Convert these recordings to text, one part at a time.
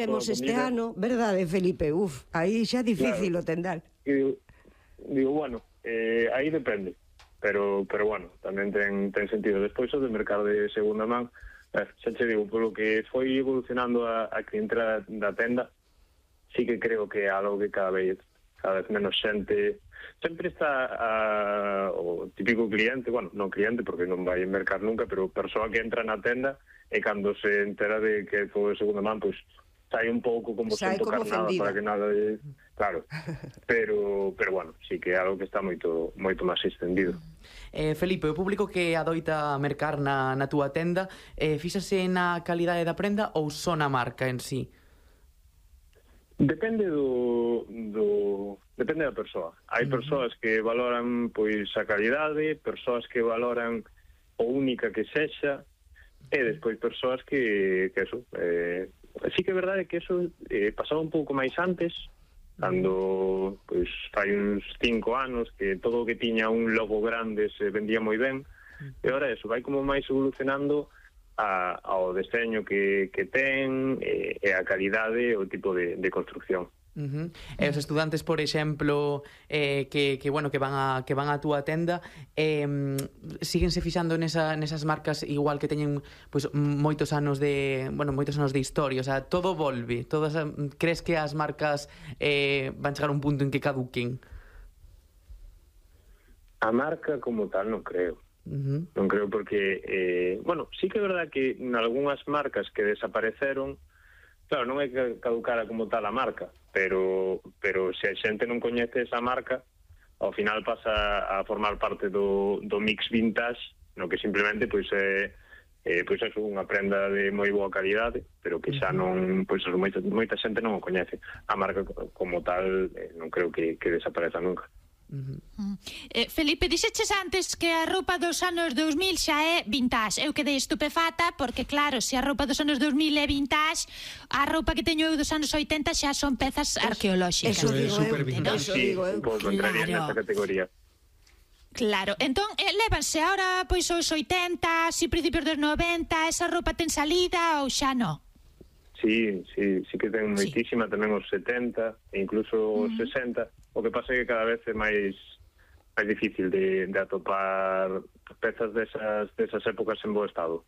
tivemos este ano, verdade, Felipe? Aí xa difícil o tendal. Digo, bueno, aí depende, pero bueno, tamén ten sentido. Despois o de mercado de segunda man, xa te digo, polo que foi evolucionando a clientela da tenda, sí que creo que é algo que cada vez menos xente. Sempre está o típico cliente, bueno, non cliente porque non vai a mercar nunca, pero persoa que entra na tenda e cando se entera de que é todo de segunda man, pois sai un pouco como sen tocar nada para que nada de... Claro, pero bueno, sí que é algo que está moito máis extendido. Felipe, o público que adoita mercar na túa tenda, fíxase na calidade da prenda ou só na marca en sí? Depende depende da persoa. Hai persoas que valoran pois a calidade, persoas que valoran o única que sexa, e despois persoas que eso, sí que é verdade que eso pasaba un pouco máis antes, cando pois fai uns 5 anos que todo o que tiña un logo grande se vendía moi ben, e agora eso vai como máis evolucionando ao deseño que ten, e a calidade, o tipo de construcción. E os estudantes, por exemplo, que van á túa tenda, síguense fixando nesas marcas igual que teñen pois moitos anos de historia, o sea, todo volve, crees que as marcas van chegar a un punto en que caduquen? A marca como tal non creo. Non creo porque sí que é verdad que en algunhas marcas que desapareceron, claro, non é que caducara como tal a marca, pero se a xente non coñece esa marca, ao final pasa a formar parte do mix vintage, no que simplemente pois é unha prenda de moi boa calidade, pero que xa non, pois moita xente non o coñece. A marca como tal non creo que desapareza nunca. Felipe, dixeches antes que a roupa dos anos 2000 xa é vintage. Eu quedei estupefata porque, claro, se a roupa dos anos 2000 é vintage, a roupa que teño eu dos anos 80 xa son pezas arqueolóxicas. Eso digo eu. Un pouco entraría nesta categoría. Claro, entón lévanse ahora pois os 80, si principios dos 90, esa roupa ten salida ou xa non? Sí que ten moitísima, tamén os 70 e incluso os 60. O que pasa é que cada vez é máis difícil de atopar pezas desas épocas en bo estado.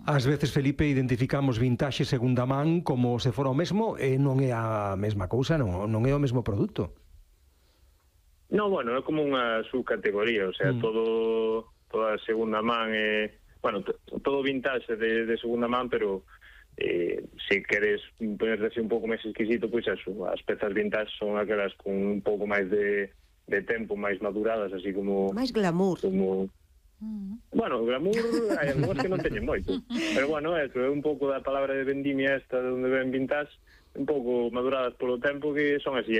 Ás veces, Felipe, identificamos vintaxe segunda man como se fora o mesmo e non é a mesma cousa, non é o mesmo produto. No, bueno, é como unha subcategoría, o sea, toda segunda man é... Bueno, todo vintage de segunda man, pero... se queres ponerse un pouco máis exquisito, pois eso, as pezas vintage son aquelas con un pouco máis de tempo, máis maduradas, así como... Máis glamour. Bueno, glamour hai algunhas que non teñen moito, pero bueno, eso é un pouco da palabra de vendimia esta de onde ven vintage, un pouco maduradas polo tempo, que son así,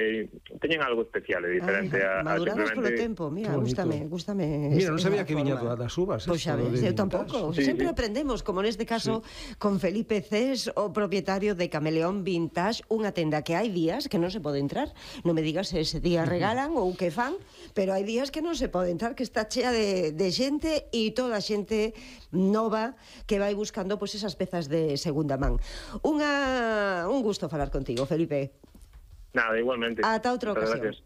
teñen algo especial e diferente a maduradas simplemente... polo tempo, mira, gústame. Mira, non sabía que viña das uvas. Pois xa ves, eu tampouco. Sempre aprendemos, como neste caso con Felipe Cés, o propietario de Cameleón Vintage, unha tenda que hai días que non se pode entrar. Non me digas se ese día regalan ou que fan, pero hai días que non se pode entrar, que está chea de xente e toda a xente nova que vai buscando pois esas pezas de segunda man. Un gusto falar contigo, Felipe. Nada, igualmente. Ata outra ocasión.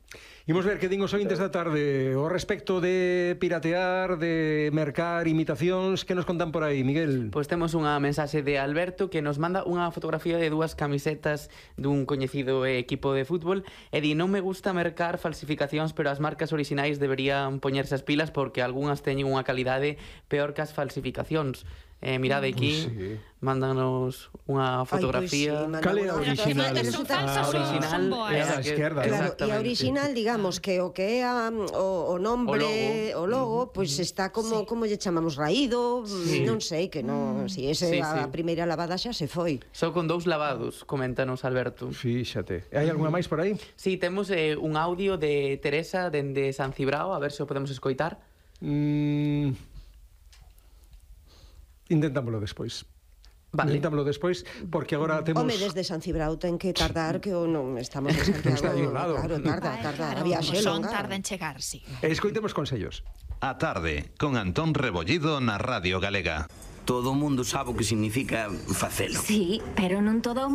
Imos ver que din os ointes da tarde o respecto de piratear, de mercar imitacións. Que nos contan por aí, Miguel? Pois temos unha mensaxe de Alberto que nos manda unha fotografía de dúas camisetas dun coñecido equipo de fútbol e di: non me gusta mercar falsificacións, pero as marcas orixinais deberían poñerse as pilas porque algunhas teñen unha calidade peor que as falsificacións. Mirade aquí, mándanos unha fotografía. Cal é a original? A original é a esquerda. Claro, e a original, digamos, que o que é o nombre, o logo, pois está como lle chamamos, raído, non sei, que non, si ese a primeira lavada xa se foi. Só con 2 lavados, coméntanos Alberto. Fíxate. Hai algunha máis por aí? Sí, temos un audio de Teresa dende San Cibrao, a ver se o podemos escoitar. Intentámoslo despois. Vale. Intentámoslo despois, porque agora temos... Home, desde San Cibrao ten que tardar, que non estamos en Santiago. Está aí ao lado. Claro, tarda. A viaxe longa. Tarda en chegar, sí. Escoitemos consellos. A tarde, con Antón Rebollido na Radio Galega. Todo o mundo sabe o que significa facelo. Sí, pero non todo o mundo